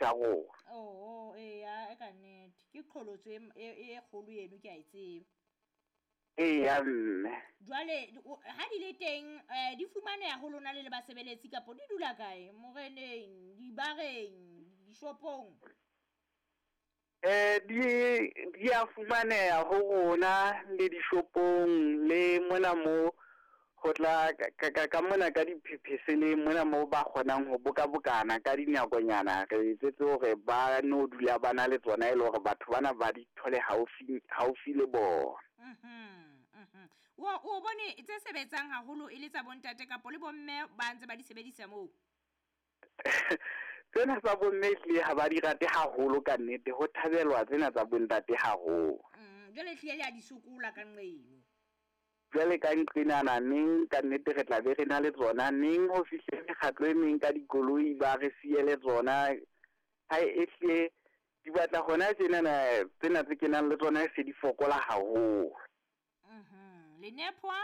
tsa rona. Oo, eya, e ka nnete. Ke qholotso e, e, e kgolo eno, ke a e tseba. Eya, mme. Jwale, ha di le teng, um di fumaneha ho lona le le basebeletsi kapo di dula kae? Moreneng, dibareng, dishopong? Um di di a fumaneha ho rona le dishopong le mona mo ho tla ka ka ka mona ka diphepheseleng mona mo ba kgonang ho bokabokana ka dinakonyana re etsetse hore ba no dula ba na le tsona e le hore batho bana ba di thole haufi haufi le bona. Mhm, mhm. O o bone tse sebetsang haholo e le tsa bontate kapo le bomme ba ntse ba di sebedisa moo? Tsena tsa bomme ehlile ha ba di rate haholo ka nnete, ho thabelwa tsena tsa bontate haholo. Jwale ehlile le a di sokola ka nqeno. Jwale ka nqenana neng ka nnete re tla be re na le tsona neng ho fihle mekgatlo e meng ka dikoloi ba re siele tsona. Ha ehlile di batla hona tjenana tsena tse kenang le tsona se di fokola haholo. Mhm. Lenephwa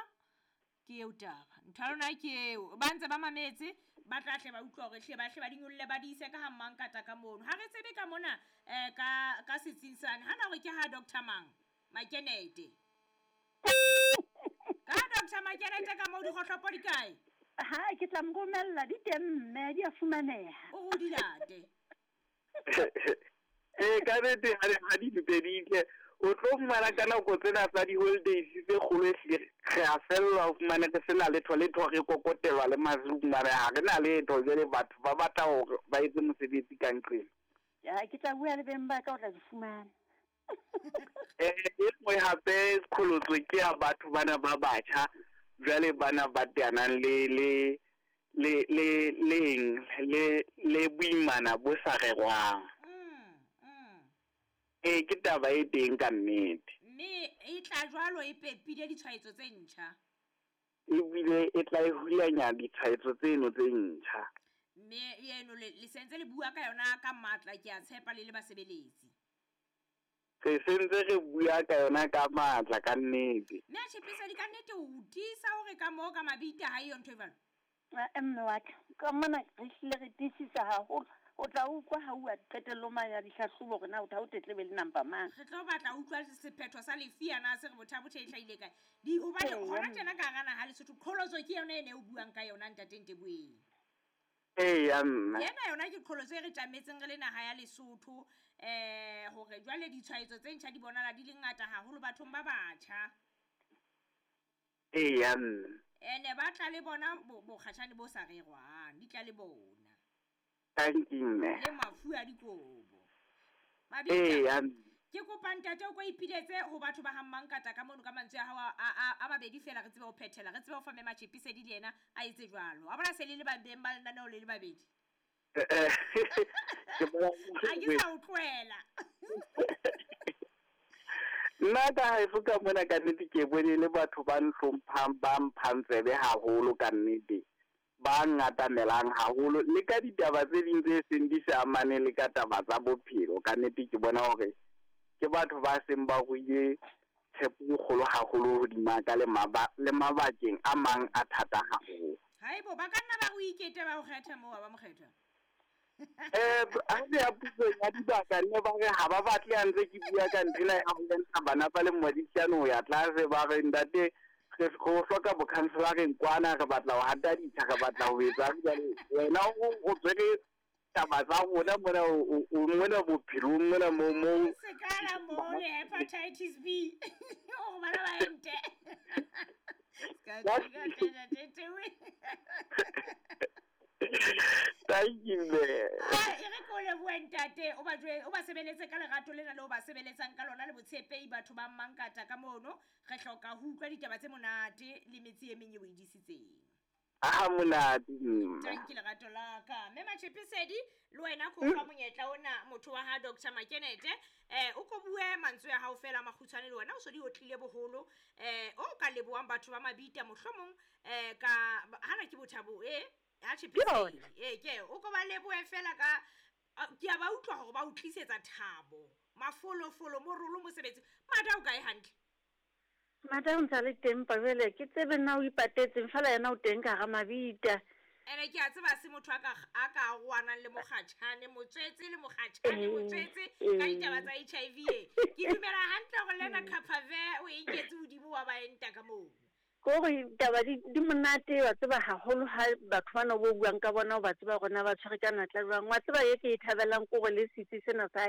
ke eo taba. Ntho ya lona ke eo. Ba ntse ba mametse, ba tla hle ba utlwa hore hle ba hle ba di nyolle ba di ise ka ha Mmankata ka mono. Ha re tsebe ka mona um ka ka setsing sane. Hana hore ke ha Doctor mang? Makenete. Ka ha Doctor Makenete ka moo dikgohlopo di kae? Ha ke tla mo romella di teng mme di a fumaneha. O re o di late. Ee, ka nnete ha di ha di ntse di tle o tlo fumana ka nako tsena tsa di-holidays tse kgolo ehlile re a fellwa o fumane re sena letho letho re kokotelwa le masiu mare ha re na letho jwale batho ba batla hore ba etse mosebetsi ka nqena. Ya ke tla bua le beng ba ka o tla di fumana. E nngwe hape qholotso ke ya batho bana ba batjha jwale bana ba teanang le le le le leng le le boimana bo sa rerwang. Ee, ke taba e teng ka nnete. Mme e tla jwalo e pepile ditshwaetso tse ntjha. Ebile e tla e hulanya ditshwaetso tseno tse ntjha. Mme eno le le sentse le bua ka yona ka matla ke a tshepa le le basebeletsi. Re sentse re bua ka yona ka matla ka nnete. Mme a Tjhepesedi ka nnete o tiisa hore ka moo ka mabita ha eyo ntho e jwalo? Ae mme wa ka, ka mona re hlile re tiisisa haholo. O tla utlwa ha uwa qetellong mane ya dihlahlobo hore na ha o tletlebe le number mang. Re tlo batla ho utlwa sephetho sa lefi ana se re bothabothe e hlahile kae. Di hobane Eya hona mme. tjena ka hara naha Lesotho qholotso ke yona ena e o buang ka yona ntate Nteboeng. Eya mme. Ena yona ke qholotso e re tjametseng re le naha ya Lesotho eh hore jwale ditshwaetso tse ntjha di bonala di le ngata haholo bathong ba batjha. Eya mme. Ene ba tla le bona bokgatjhane bo sa rerwang, di tla le bona. Thank you mme. Le mafu a dikobo. Mabitla. Eya mme. Ke kopa ntate o ko ipiletse ho batho ba ha Mmankata ka mono ka mantswe a hao a a a mabedi feela re tsebe ho phethela, re tsebe ho fa Mme Matjhepisedi le yena a etse jwalo. Wa bona se le le ba beng ba lenaneo le le babedi. Ke bona Ha ke sa o tlohela. Nna ka haeso ka mona ka nnete ke bone le batho ba nhlomphang ba mphang tsebe haholo ka nnete ba ngatamelang haholo le ka ditaba tse ding tse seng di sa amane le ka taba tsa bophelo ka nnete ke bona hore ke batho ba seng ba ruile tshepo e kgolo haholo hodima ka le maba le mabakeng a mang a thata haholo. Haebo ba ka nna ba o ikete ba o kgetha moo ba mo kgetha. Ha re ya pusong ya dibaka nne ba re ha ba batle ha ntse ke bua ka nthwena ya ho lwantsha bana ba lemo di hlano ho ya tlase ba re ntate re go hloka bokhanselareng kwana re batla ho hata ditsha re batla ho etsa jwale wena o tshwere taba tsa rona mona o mona bophelong mona mo mo Sekala mo le hepatitis B. O bana ba ente. Ska tete we. Thank you mme. Ah, e re ko lebohe ntate o ba jwe o ba sebeletse ka lerato lena le o ba sebeletsang ka lona le botshepehi batho ba Mmankata ka mono re hloka ho utlwa ditaba tse monate le metse e meng e o e disitseng. Ha monate mme. Thank you lerato la ka. Mme Matjhepisedi le wena ko fa monyetla ona motho wa ha Dr Makenete o ko bue mantswe a hao fela makgutshwane le wena o so di otlile boholo o ka lebohang batho ba Mabita mohlomong ka hana ke bothabo ha Tjhepisedi ke o ko ba lebohe fela ka ke a ba utlwa hore ba o tlisetsa thabo mafolofolo morolo mosebetsi mata o kae hantle. Mata o ntse a le teng pa jwale ke tsebe nna o ipatetseng fela yena o teng ka hara Mabita. Ene ke a tseba se motho a ka a ka arohanang le mokgatjhane, motswetse le mokgatjhane, motswetse ka ditaba tsa HIV e. Ke dumela hantle hore le ena Capave o e nketse hodimo wa ba enta ka moo. Ke hore taba di di monate wa tseba haholo ha batho bana bo buang ka bona o ba tseba hore na ba tshwere ka natla jwang. Wa tseba e ke e thabelang ke hore le setsi sena sa